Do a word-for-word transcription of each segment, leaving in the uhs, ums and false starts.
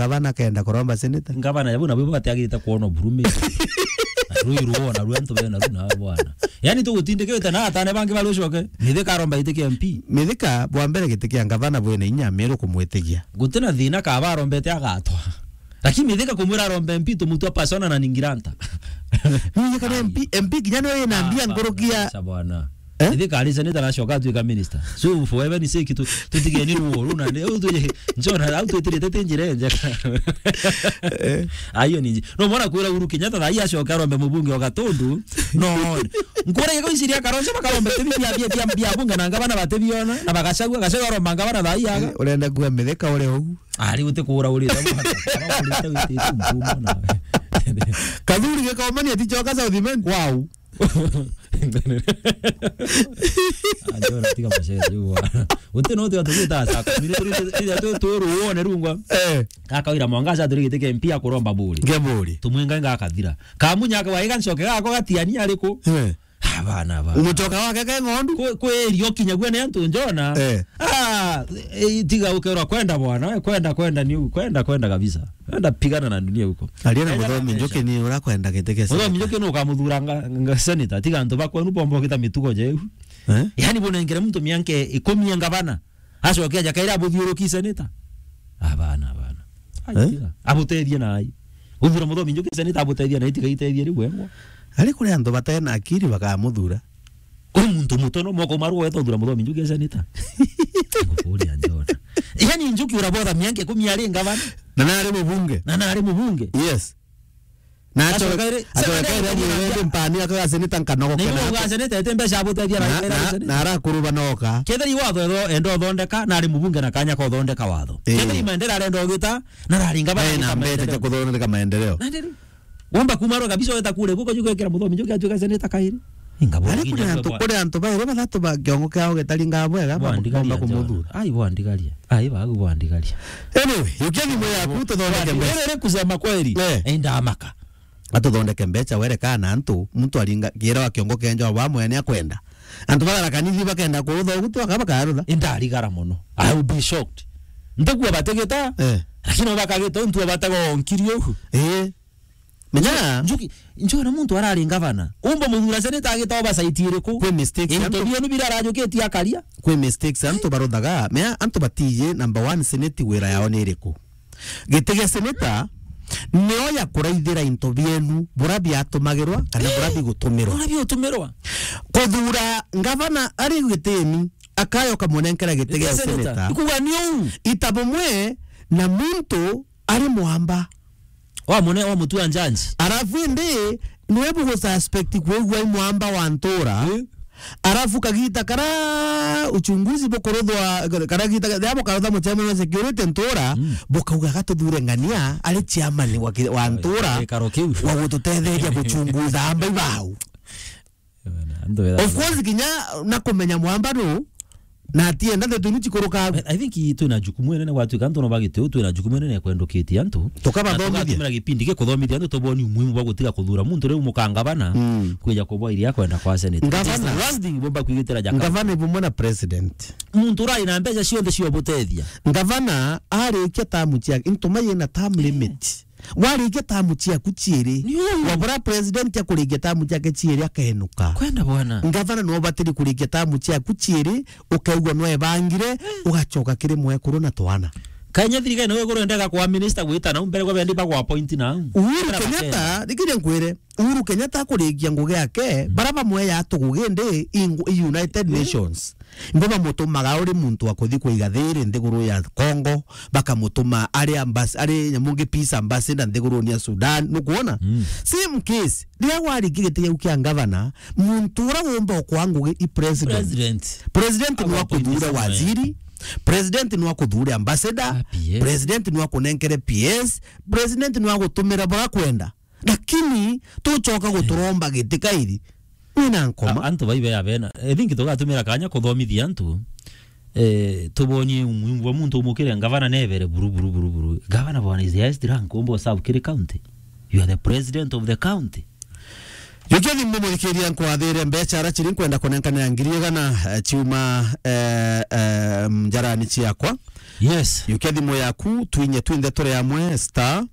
Gavana kenda kuromba senator. Ngavana ya buna bibo batiagirite kuona burumi. Rui ruona rwentu bena runa bwana. Yani tugutindikite na atane bangi bari ucoke. Mithika aromba giti kia M P. Mithika bwa mbere giti kia ngavana bwina inya Meru kumwitigia. Gutina thina kaba arombete agatwa. Lakini Mithika kumwira arombe M P tumutua persona na ningiranta. Mithika ni M P, M P kinya ni wina mbia nkurukia. Bwana. Eh? Ithika ari senator aracoka atuika minister. So for heaven's sake tu tutigeni ruo runa ni u tu njona au twitirite ti njira enjeka. Eh. Ayo ni nji-, no mwana kwira Uhuru Kenyatta thaa hii acoke arombe mubunge wa Gatundu. No. Nkura iko iciria karonse bakarombe tibi bia bia bia bia bunge na ngabana batibiona na bagacagua gacagua aromba ngabana thaa hii aga. Eh, urenda kuwa Mithika uri uu. Ari uti kura uri ta mwana. Kama uri ta witi tu mbumo na. Kathuri gikaumania ticoka South Imenti. Wow. Anjona tiga mashete uwa. Uti no tiga tugita saa kumi ni turi tiga tu tu ruone rungwa. Eh. Kaka wira mwangaza turi gitike M P akuromba buri. Ngeburi. Tumwinga ngakathira. Kamunya ka waiga ncoke gako gatiani ariku. Eh. Abana ba. Umucoka wake ke ng'ondu. Kwe kwe rio kinya gwe ni antu njona. Eh. Ah, eh, tiga ukerwa kwenda bwana, we kwenda kwenda ni kwenda kwenda kabisa. Enda pigana na dunia huko. Aria na Enda Muthomi na Njuki ni urakwenda giti kia Muthomi seneta. Njuki ni ukamuthura nga, nga seneta. Tiga antu bakwenu bomba ukita mitugo jeu. Eh? Yani bunengere muntu mianke ikumi ya ngavana. Acoke aja kaira abuthiuruki seneta. Abana, abana. Ai, Eh? Tiga. Abutethie na ai. Uthura Muthomi Njuki seneta abutethie na ai, tiga itethie riu wengwa. Ari kuri antu batena akiri bakamuthura. Kuri muntu mutono moko maru weta uthura Muthomi Njuki seneta. Kuria njona. Yani Njuki urabotha mianke ikumi ari ngavana. Na nari mubunge. Na nari mubunge. Yes. Na Acoka iri, acoka iri seneta ndi mpani akaga seneta nkanogo na kena. Uga seneta ete mbeca abutethia na Na, Raila na, seneta. Na arakuruba noka. Ketheri watho etho enda uthondeka, na ari mubunge na kanya ka uthondeka watho. Eh. Ketheri maendeleo arenda ugita, na rari ngavana Eh, na agita mbete maendeleo. Cia kuthondeka maendeleo. Na ndiri. Womba kuma ro kabisa weta kule guko juko ekera Muthomi Njuki atuika seneta kairi. Ingabora. Ari kuri antu, kuri antu bairi bathatu ba kiongo kiao gitaringa bwega, bwa-, bwandigaria bomba njona. Kumuthura. Ai, bwandigaria. Ai, bagu bwandigaria. Anyway, yukia thimu yaku tuthondeke mbeca. Riri kusema kweli, eh, indamaka. Atuthondeke mbeca, wereka na antu, muntu aringa, kiera wa kiongo kenja wa mwene akwenda. Antu bagara kanithi bakenda kurutha ugutu, aka bakarutha. Indarigara mono. I will be shocked. Ntakuwa bategeta, eh, lakini bakageta untu abatega onkiri ugu. Eh. Menya. Njuki, njona muntu arari ngavana. Umba muthura seneta agita oversight iriku? Kwi mistakes into antu. Bienu bira arajukitie akaria. Kwi mistakes antu baruthaga. Mea antu batiji number one senate wira yao ni iriku? Giti gia seneta nio ya kuraithira into bienu bura biatumagirwa kana bura bigutumirwa. Bura biutumirwa. Kuthura ngavana ari gitini akayoka munenkera giti gia seneta. Ikuga ni uu. Ita bumwe na muntu ari mwamba. Wa mune, wa mutua njanji. Arafu indi, niwe bugu suspect kwigua i mwamba wa ntura. Eh. Arafu kagita kara uchunguzi bukuruthwa, kara gita, ya bukarutha muchairman wa security ntura, mm, bukauga gatuthure ng'ania, ari chairman wa ki-, wa ntura, gikaro kiu. Wa gututetheria guchunguza amba ibau. Of course, kinya na kumenya mwamba nu, na atienda ndeto inu chikuruka. I, I think twina jukumu inene gwatuika antu no bagite u, twina jukumu inene ya kwendukitie antu. Tukabathomithia. Na tugatumira gipindi gi kuthomithia antu, tuboni umuhimu bwa gutiga kuthura muntu riu mukangavana, mm, kwija kubwa iria kwenda kwa senate. It is the last thing bomba kwigitira jaka. Ngavana bumwe na president. Muntu urai na mbeca cionthe cia ubutethia. Ngavana arikia tamu ciake, into mai na term limit. Warikia tamu ciaku ciiri, ni uu, wabura president akurikia tamu ciake ciiri akenuka. Kwenda bwana. Ngavana no batiri kurikia tamu ciaku ciiri, ukaigua no ebangire, ugacoka kiri mwekuru na twana. Kanya thirikari no iguru endega kwa minister gwita nau mbere kwa bendi bagwa appoint nau. Uhuru Kenyatta, thikire nkwire, Uhuru Kenyatta akurikia ngugi yake, mm, bara bamwe ya tugugi ndi i ngu-, i United Nations. Ngo bamutumaga uri muntu wa kuthi kuiga thiri nthiguru ya Congo, bakamutuma ari ambas-, ari nyamu ngi peace ambassador nthiguruni ya Sudan, nukwona? Mm. Same case, riria warikia giti giu kia ngavana, muntu uria wumba ukwa ngugi i president. President. President no akuthure waziri, president no akuthure ambassador, ah, P S. President no akunenkere P S, president no agutumira bura kwenda. Lakini tucoka guturomba giti kairi. Wina nkoma. A-, antu baibe ya bena. I think tugatumira kanya kuthomithia antu. Eh, tubonie umuhimu bwa muntu umukire ngavana nebere buru, buru, buru, buru. Governor bwana is the highest rank umbo serve kiri county. You are the president of the county. Yukia thimu muthikiria nkwathire mbeca ara chiri nkwenda kunenkanira ngiri igana, eh, chiuma, eh, eh, njarani ciakwa. Yes. Yukia thimu yaku, twinye twinthe turi amwe, star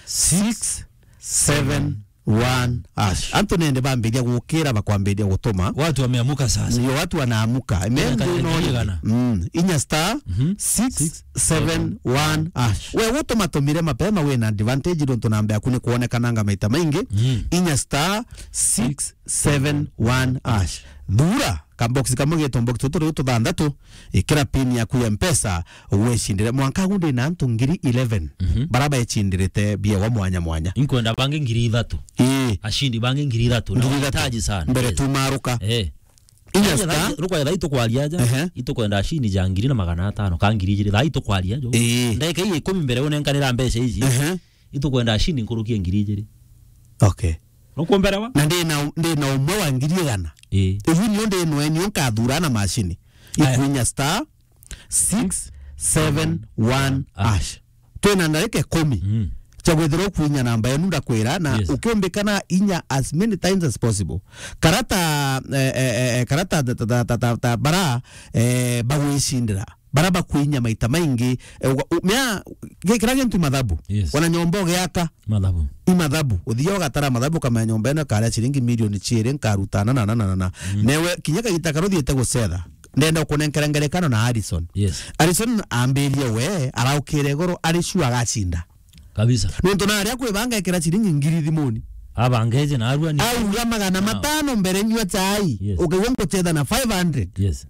six seven one hash. Antu nende bambiria gukira, bakwambiria gutuma. Watu wameamuka sasa. Ndio, watu wanaamuka. Amen. Ndio, ndio. Igana. Mm. Inya star six seven one hash. We gutuma tumire mapema, wina advantage, nontu namba yaku ni kuonekananga maita maingi. Mm. Inya star six seven one hash. Thura kabox kamwe geto box tutu riu tuthanthatu, ikira pin yaku ya Mpesa, wicindire. Mwanka agu ndina antu ngiri eleven, mhm, bara becindiriite biewa mwanya mwanya. Inkwenda bangi ngiri ithatu. Ii. Ashindi bangi ngiri ithatu. Na ngiri ithatu. Wahitaji sana. Mbere, yes, tumaruka. Eh. Inya star. Rukwaya thaa itukwaria aja. Ehe. Itukwenda ashindi ja ngiri na magana atano, ka ngiri ijiri. Thaa itukwaria jo. Ii. Ndagika ii ikumi mbere unenkanira mbeca iji. Ehe. Itukwenda ashindi nkuruki ya ngiri ijiri. Okay. Nukumberewa? Na ndina, ndina umwe wa ngiri igana. Ii. Iu nio ndinwe, nio nkathura na macini. Aya. Ikwinya star six seven one hash. Twina ndarika ikumi. Mm. Cha gwithirwa ukwinya namba yenu ndakwira, na, yes, ukiumbikana inya as many times as possible. Karata, eh, eh, eh, karata ta, ta, ta, ta, ta bara, eh, bagwicindira. Bara bakwinya maita maingi, eh, uga-, u-, mea, gi-, kira gintu mathabu. Yes. Ona nyomba ugiaka. Mathabu. I mathabu. Uthia ugatara mathabu, ukamenya nyomba ino ikaria ciringi milioni ciiri, nkaruta na, na, na, na, na. Mm. Newe, kinya kagita karia uthiite gucetha, ndenda ukunenkera ngerekano na Harrison. Yes. Harrison ambirie we, araukire igoro, ari sure agacinda. Kabisa. Nontu na aria kwibanga ekira ciringi ngiri thimuni. Abangeje na arua ni. Auga magana matano mbere nyua chai. Yes. Ukaigua ngucetha na five hundred. Yes.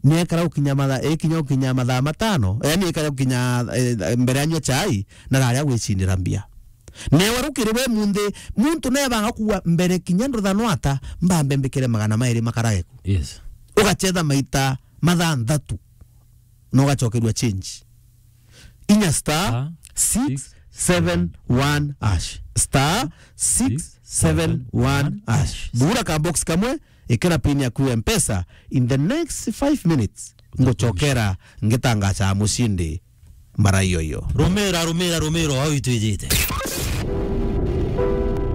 Niekara gukinya mathaa, ikinya gukinya mathaa matano, yani ikara gukinya, eh, mbere anyua chai, na raria gwicindira mbia. Newe rukiri we munthi, muntu nebanga kuwa mbere kinya nduthanwa ata, mbambe mbikire magana mairi makarage ku. Yes. Ugachetha maita mathanthatu, na ugachokerua change. Inya star six seven one hash. Star six seven one hash. Thura ka box kamwe, ikira pin yaku ya Mpesa. In the next five minutes, nguchokera ngitangacha mushindi mbara iyo iyo. Rumira, rumira, rumira, au itwijite.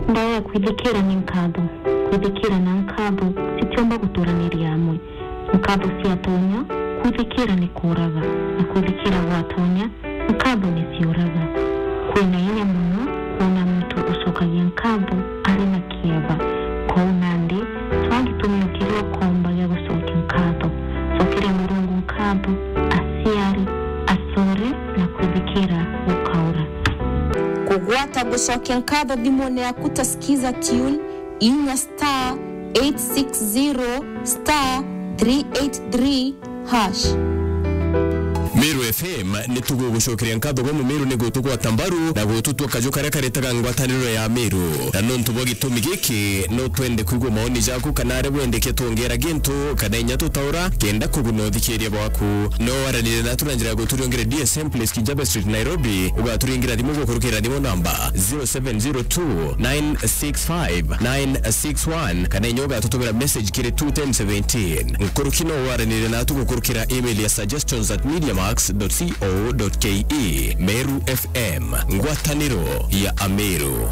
Ndawa ya kwithikira ni nkatho. Kwithikira na nkatho citiumba guturaniria amwe. Nkatho ciatonya, kwithikira ni kuuraga, na kwithikira gwatonya, nkatho ni ciuraga. Kwina inya mono kwona muntu ucokagia nkatho ari na kieba. Kwou nandi, twaa gitumio kiria ukomba gia gucokia nkatho. Cokeria Murungu nkatho, aciari, acore, na kwithikira gukaura. Kugwata gucokia nkatho thimune yaku ta Skiza Tune, inya star eight six zero star three eight three hash. Meru F M ni tugugucokeria nkatho bwa Mumeru ni gutugwata mbaru na gututua kaju karia karetaga ngwataniro ya Meru. Na nontu bwa gitumi giki, no twende kwigua maoni jaku kana aria wendeke twongera gintu kana inya tutaura kenda kuguna uthikiria bwaku. No waranire natu na njira ya guturiongera D S M Place, Kijabe Street, Nairobi. Ugaturingira thimu gukurukira thimu namba zero seven zero two nine six five nine six one, kana inya ugatutumira message kiri two ten seventeen. Nkuruki no waranire natu gukurukira email ya suggestions at mediamax dot co dot ke. Meru F M, ngwataniro ya Ameru.